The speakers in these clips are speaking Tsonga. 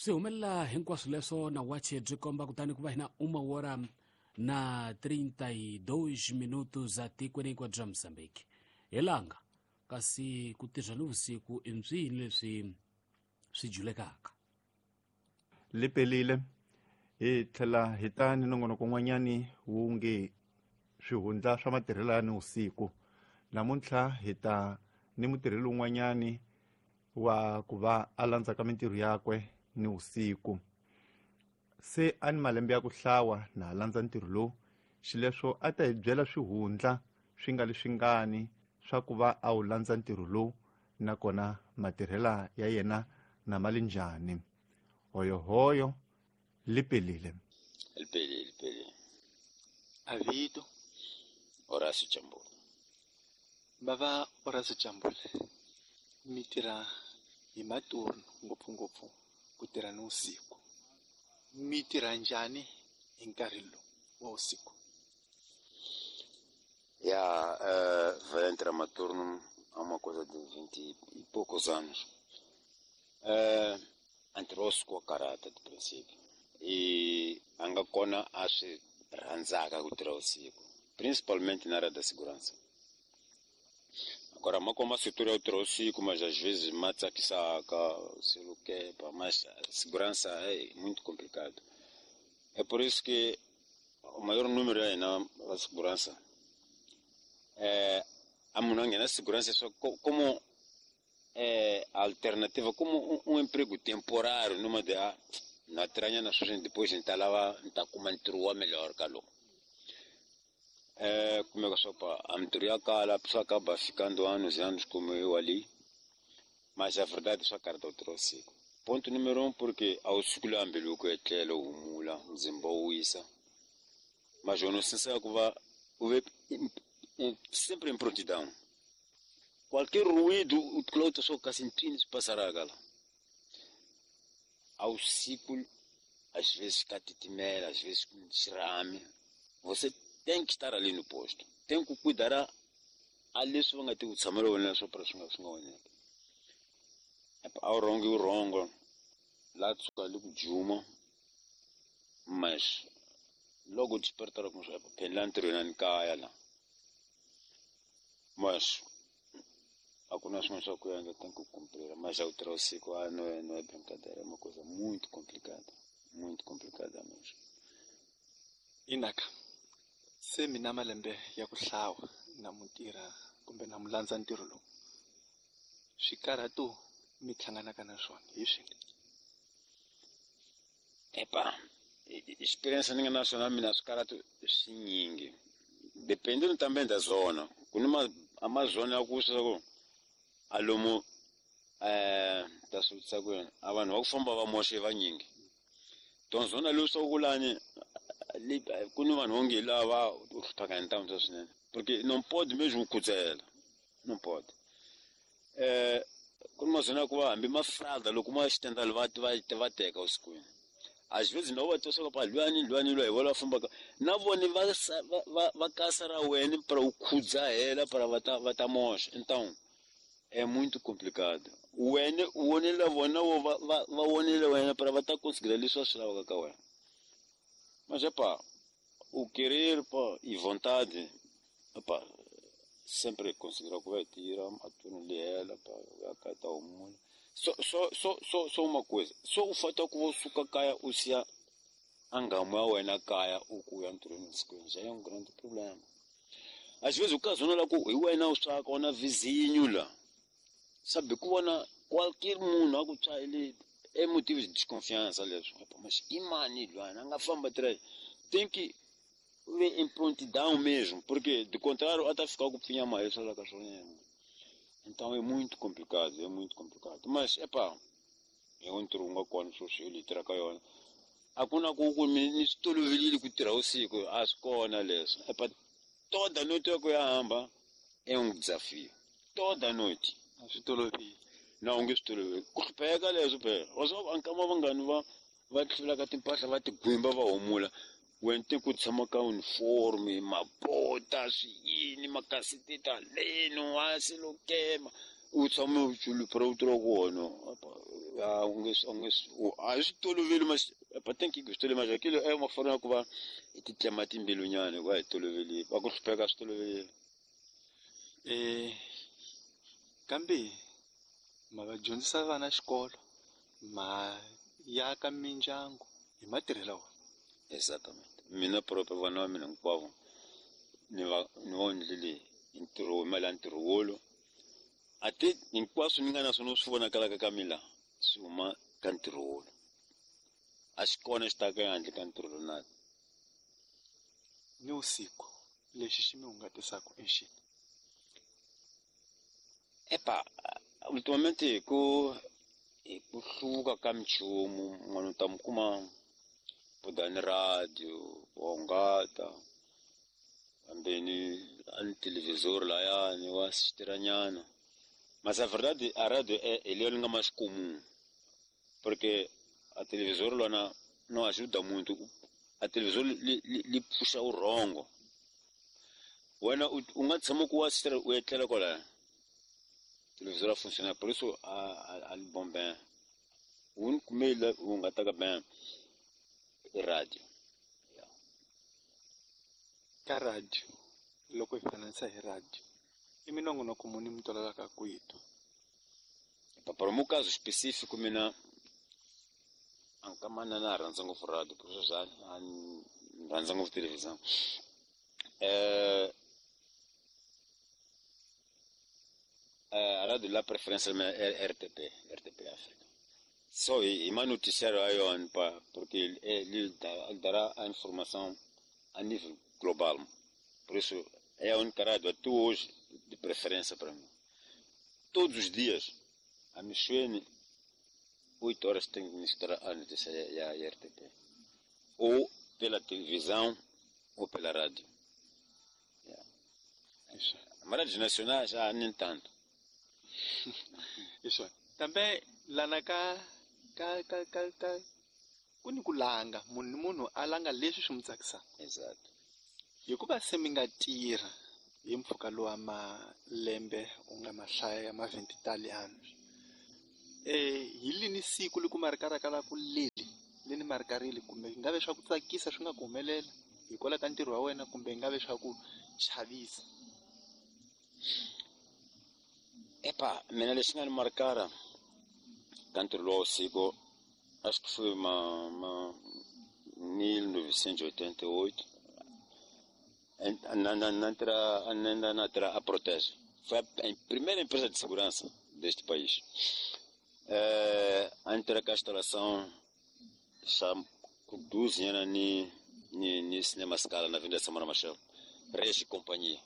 Swi humelela hinkwaswo leswo na wache byi komba kutani ku va hina uma wora na 32 minutos za tikweni hinkwaro bya Mozambique. Hi langa kasi ku tirha ni vusiku i mpsini leswi swi julekaka. Li pelile hi tlhela hi ta ni nongonoko n'wanyani wu nge swihundla swa matirhelo ya nivusiku. Namuntlha hi ta ni mutirheli un'wanyani wa ku va a landzaka mintirho yakwe nivusiku. Se a ni malembe ya ku hlawa na ha landza ntirho lowu, xileswo a ta hi byela swihundla swi nga leswingani swa ku va a wu landza ntirho lowu, nakona matirhela ya yena na ma li njhani. Hoyohoyo li pelile. Lipelile, lipelile. Avito Horacio Chambule. Bava Horacio Chambule, mi tirha hi maturno ngopfungopfu ku tirha ni vusiku. Mi tirha njhani hi nkarhi lowu wa vusiku? Ya, vai entrar maturno há uma coisa de 20 e poucos anos. Entrou-se com a caráter de princípio. E a nga kona a swi rhandzaka ku tirha vusiku, principalmente na área da segurança. Agora, ma koma setor ya ku tirha vusiku, mas às vezes ma tsakisaka, silukepa, mas a segurança é muito complicado. É por isso que o maior número ya hina va segurança a munhu a nghena segurança só como alternativa, como um emprego temporário, numa de na tirhanyana sweswi, depois ni ta lava ni ta kuma ntirho wa melhor ka lowu. Kumeka swa ku a mintirho ya kala, a pessoa acaba ficando anos e anos como eu ali, mas a verdade swa karhata ku tirha vusiku. Ponto número 1, porque a wu suki laha mbilu ku etlela u humula, muzimba wu wisa, mas eu não sei se ku va u ve sempre em prontidão. Qualquer ruído, o cloto só ka sentindo se passará la. Ao ciclo, às vezes catitimela, às vezes com xirame. Você tem que estar ali no posto. Tem que cuidar a leswi va nga ti ku tshamela wena swo para swi nga swi nga onheki. A wu rhongi wu rhongo la tshuka li ku juma, mas logo despertar com só phela ntirhweni ni kaya la. Mas a ku na swin'wana swa ku endla, tem que cumprir. Mas já o tirha vusiku, não é brincadeira, é uma coisa muito complicada, muito complicada mesmo. Inaka, se mina malembe ya ku hlawa na mu tirha kumbe na mu landza ntirho lowu, swikarhato mi hlanganaka na swona hi swini? Epa, experiência ni nga na swona mina swikarhato swinyingi, dependendo também da zona. Ku ni a zona ya ku swa ku a lomu ta swi vutisa ku yini, a vanhu va ku famba va moxe vanyingi. Donc zona leyi swa ku lani ku ni vanhu vonge lava u hlupheka hi ntamu swa swinene, porque não pode mesmo khudzela, não pode. Ku ni mazona ya ku va hambi mafrada loko ma xitendali va va va teka vusikwini. Às vezes não va twa swa ku pa lwani lwani lwa hi vona va fambaka na vona va va kasa ra wena para u khudzahela para va ta moxa. Então é muito complicado. Wena u vonela vona vo va vonele wena para va ta conseguir leswi va swi lavaka ka wena. Mas epa, o querer pa e vontade, epa, sempre conseguirá ku va tirha a turno lihela pa ya ka ta humula. So so so so so uma coisa, só o fato ku vo suka kaya u siya a nghamu ya wena kaya u ku ya ntirhweni vusikwini já é um grande problema. Às vezes o caso la ku hi wena u swaka na vizinho la. Sabe ku vona qualquer munhu a ku tswayele é motivo de desconfiança leswi. Epa, mas i mani lwana a nga famba tirha tem que ver em prontidão mesmo, porque de contrário até ficar com pfinha mais só lá cachorro. Então é muito complicado, é muito complicado. Mas epa, eu entro nga kona swo swi litera ka yona. A ku na ku ku ni swi tolovelile ku tirha vusiku, a swi kona leswo. Epa, toda noite ya ku ya hamba é um desafio. Toda noite. A swi toloveli. Na u nge swi toloveli. Ku hlupheka leswo phela. Wa swi vona nkama vangani va hlulaka timpahla va ti gwimba va humula. Wena te ku tshama ka uniforme, mabota, swiyini, makasiteta leno, wa silokema. U tshama u chulu para u tirha kona. A hi swi toloveli mas tem que swi mas aquilo é uma forma ku va hi ti tlema timbilunyana hikuva hi toloveli va ku hlupheka swi toloveli. Kambe ma va dyondzisa vana xikolo ma yaka mindyangu hi matirhelo wona. Exatamente. Mina próprio vana va mina hinkwavo ni va ni va endlile hi ntirho mali ya ntirho wolo ate hinkwaswo ni nga na swona swi vonakalaka ka mina swi huma ka ntirho wolo a xi kona xi taka ehandle ka ntirho lowu na ni vusiku lexi xi mi hungatisaka i xini? Epa, ultimamente hi ku hluvuka ka minchumu munhu u ta mi kuma budani radio wa hungata hambeni a ni televisor layani wa switirhanyana mas a verdade a radio hi leyo ni nga mais comum porque a televisor lona não ajuda muito. A televisor li pfuxa vurhongo wena u nga tshama ku wa u etlela kwalaya televisor a funciona por isso a li bom bem o único meio u nga ta ka bem i radio. Ka radio loko hi fananisa hi radio i minongonoko muni mi tolovelaka ku yi twa? Para o meu caso específico mina ankamana na rhandza ngopfu radio por isso já rhandza ngopfu televisão. A rádio lá preferência é RTP, RTP África. Só e mais noticiário aí porque ele dará a informação a nível global. Por isso é a única rádio até hoje de preferência para mim. Todos os dias, a Michuene, 8 horas tem que misturar a notícia e a RTP. Ou pela televisão ou pela rádio. Yeah. Mas rádios nacionais já nem tanto. Isso. Também lá na ka ku ni ku langa munhu a langa leswi swi n'wi tsakisaka. Exato. Hikuva se mi nga tirha hi mpfhuka lowa malembe u nga mahlaya ya ma-20 hi lini siku loko ma ku leli leni marikarile kumbe yi nga ve swa ku tsakisa swi nga ku humelela hikwalaho ka ntirho wa wena kumbe yi nga ve swa ku chavisa? Epa, mina lexi nga ni marikara ka ntirho lowa vusiku acho que foi ma 1988 na a Protege. Foi a primeira empresa de segurança deste país. A entrar com a instalação já com 12 anos ni Cinema Scala na Avenida Samora Machel. Regi Companhia.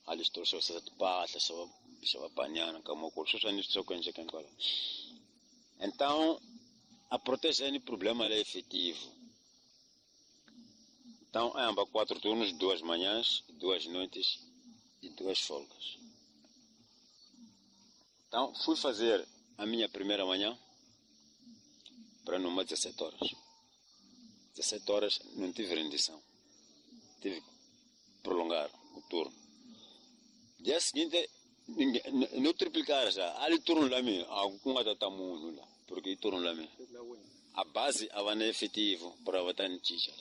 Ali trouxe vocês de pata, só banhar, como só nisso só que Então, a Protege é problema é efetivo. Então, é ambas 4 turnos, 2 manhãs, 2 noites e 2 folgas. Então, fui fazer a minha primeira manhã para numa 17 horas. 17 horas não tive rendição. Tive que prolongar o turno. Dia seguinte, não triplicar já. Ali turno lá mesmo, algum tatamuno lá, porque turno lá mesmo. A base havana efetivo para botar em tixa.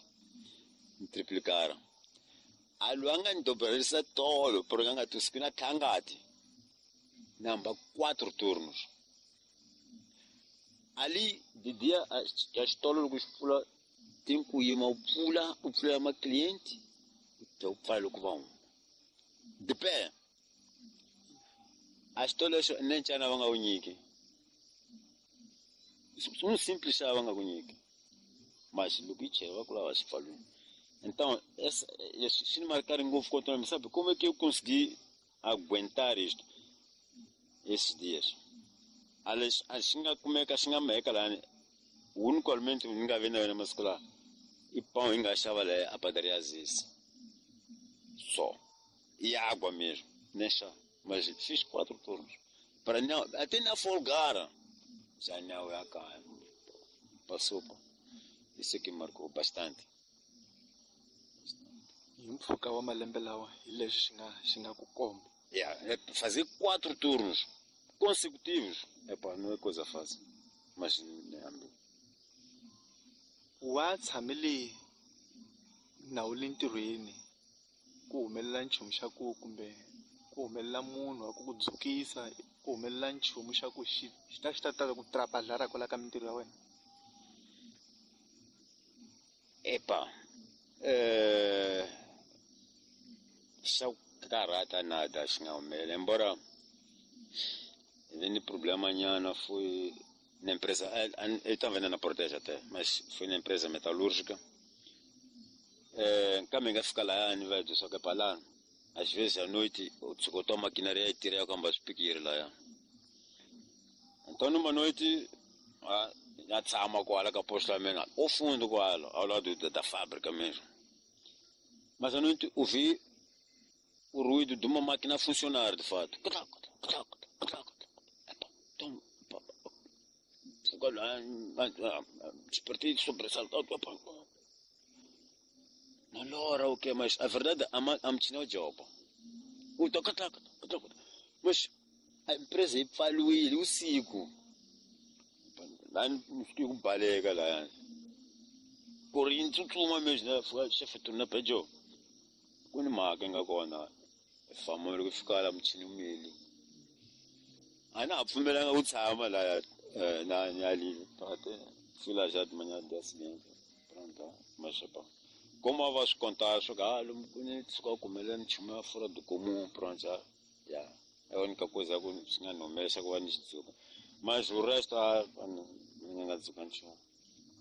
Triplicaram. A luanga dobrarisa todo, porque anga tuskina tangati. Namba 4 turnos. Ali de dia a história do pula tem que ir uma pula, o pula uma cliente, então falo com vão. De pé. A história nem tinha nada a unir. Um simples chava a unir. Mas o que tinha vai lá se falou. Então, se não marcar em gol contra mim, sabe como é que eu consegui aguentar isto esses dias? A como é que a xinga meca lá, o único alimento que ninguém vende na escola e pão engaixava lá a padaria Aziz. Só. E água mesmo, nem chá. Mas fiz 4 turnos. Para não, até na folgara. Já não é cá. Passou. Isso que marcou bastante. Hi mpfhuka wa malembe lawa hi leswi xi nga ku komba. Yeah, fazer 4 turnos consecutivos, epa, não é coisa fácil. Mas ni hambi. Wa tshamele na wu le ntirhweni ku humelela nchumu xa ku kumbe ku humelela munhu wa ku ku dzukisa, ku humelela nchumu xa ku xi xi ta xi ta ta ku trapalhara kwala ka mintirho ya wena? Epa, xa ku karhata nada xi nga humelela, embora hi ni problema nyana, foi na empresa, eu estava na Portela até, mas foi na empresa metalúrgica. Kambe hi nga fika lahayani va hi byela swa ku palani às vezes à noite u tshuka u twa machinery ya tirha ya ku hamba swipikiri laya. Então numa noite na tshama kwala ka posto la mina o fundo kwala ao lado da fábrica mesmo. Mas à noite ouvi o ruído de uma máquina a funcionar de fato. Então, despertei sobressaltado. Na hora o que? Mas a verdade, a máquina job. Mas a empresa ipfaluile usiku. Lá no baleka lá. Corinthians tsutsuma mesmo, né? Chefe turna pejo. Ku ni mhaka nga kona. Famba loko fika la muchini umeli. A na ha pfumelanga ku tshama la na nyali pate. Fila já de manhã dia seguinte. Pronto, mas pa. Como va swi contar swo ka lomu ku ni tshuka ku humelela nchumu ya fora do comum, pronto já. Ya. É a única coisa que swi nga ni humelesa ku va ni xidzuka. Mas o resto a ni nga dzuka nchumu.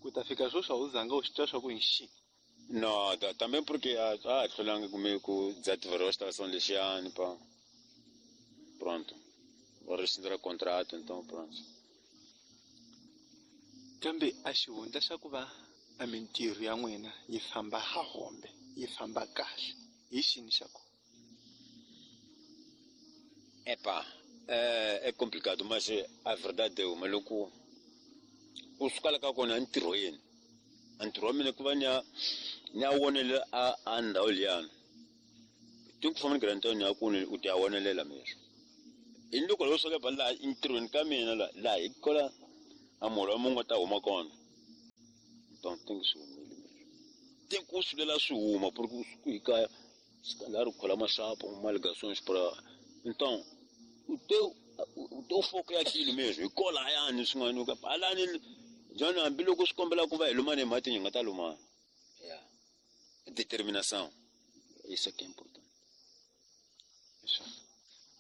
Ku ta fika sweswi a wu zanga u swi twa swa ku hi xi? No, também porque a hlulanga kume ku desativar a instalação lexiyani pa. Pronto. Vou rescindir o contrato, então pronto. Kambe a xihundla xa ku va a mintirho ya n'wina yi famba ha hombe, yi famba kahle, hi xini xa kona? Epa, é complicado, mas a verdade é uma loko u suka la ka kona entirhweni. Ntirho wa mina ku va ni ya wonelela a ndhawu liyani. Tem que fama grande ni ya ku u ti ya wonelela mesmo. I loko lo suka ba laha entirhweni ka mina la hi kola a muholo wa munhu ta huma kona. Então tem que swi humile mesmo. Tem que sulela swi huma porque u suka hi kaya se calhar u khola maxapo uma ligações para então o teu foco é aquilo mesmo. Hi kola hayani swin'wana ka halani John hambiloko swi kombela ku va hi lumana hi mati hi nga ta lumana. Yeah. Determinação. Isso é que é importante. Isso.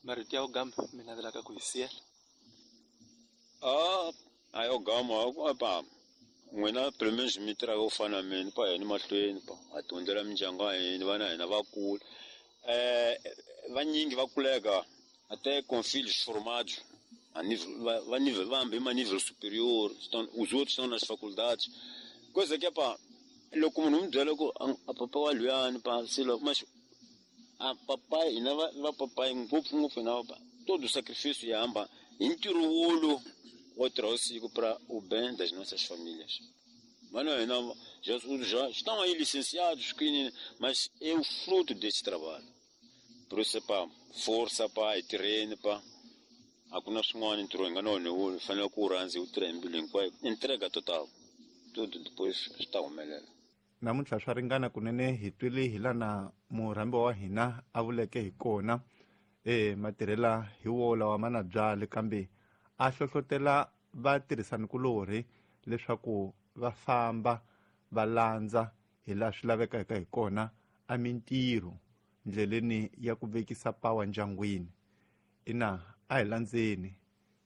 Marito ya ugamba mi navelaka ku hi siyela? A yo gama pa n'wina pelo menos mi tirhaka ku fana na mina pa hina mahlweni pa ha ti hundzela mindyangu ya hina vana hina va kula. Vanyingi va kuleka até com filhos formados a nível, vambi a nível superior, estão, os outros estão nas faculdades. Coisa que é pá, loko munhu mi byela ku a papa wa luyani pa silo, mas a papai hina va papai ngopfungopfu hina va todo sacrifício ya hamba hi ntirho wolo wo tirha usiku para o bem das nossas famílias. Mano, hina já estão aí licenciados, mas é o fruto desse trabalho. Por isso pá, força pá, e terreno pá. A ku na swin'wana ntirho hi nga na wona wu fanele ku wu rhandza hi wu tirha hi mbilu hinkwayo, entrega total, tudo depois swi ta humelela. Namuntlha swa ringana kunene hi twile hi lana murhambi wa hina a vuleke hi kona matirhela hi wo lawa ma na byali, kambe a hlohlotela vatirhisanikulorhi leswaku va famba va landza hi laha swi lavekaka hi kona a mintirho ndleleni ya ku vekisa pawa ndyangwini. Ina a hi landzeni,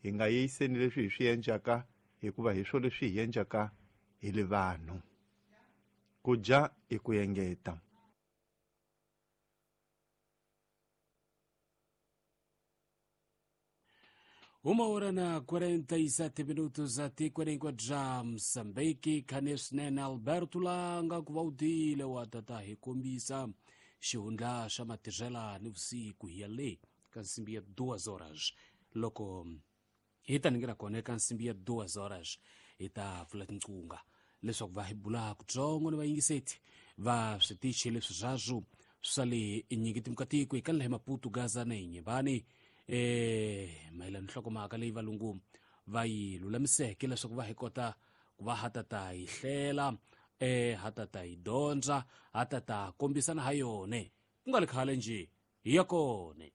hi nga yeyiseni leswi hi swi endlaka hikuva hi swo leswi hi endlaka hi le vanhu. Ku dya i ku engeta. Uma hora na 47 minutos atikweni bya Mozambique. Khane swinene Alberto Langa ku va u tile wa tata hi kombisa xihundla xa matirhela ni vusiku hi ya le ka nsimbi ya 2 horas. Loko hi ta ningira kona eka nsimbi ya 2 horas hi ta pfula tinqunga leswaku va hi bula kutsongo ni vayingiseti va switichi leswi swaswo swa le nyingi timukatiko hi kanela hi Maputo, Gaza na Inyembani mayelana nhlokomhaka leyi valungu Va yi lulamiseke leswaku va hi kota ku va ha ta yi hlela, ha ta yi dyondza, ha ta kombisana ha yone. Ku nga ri khale njhe hi ya kone.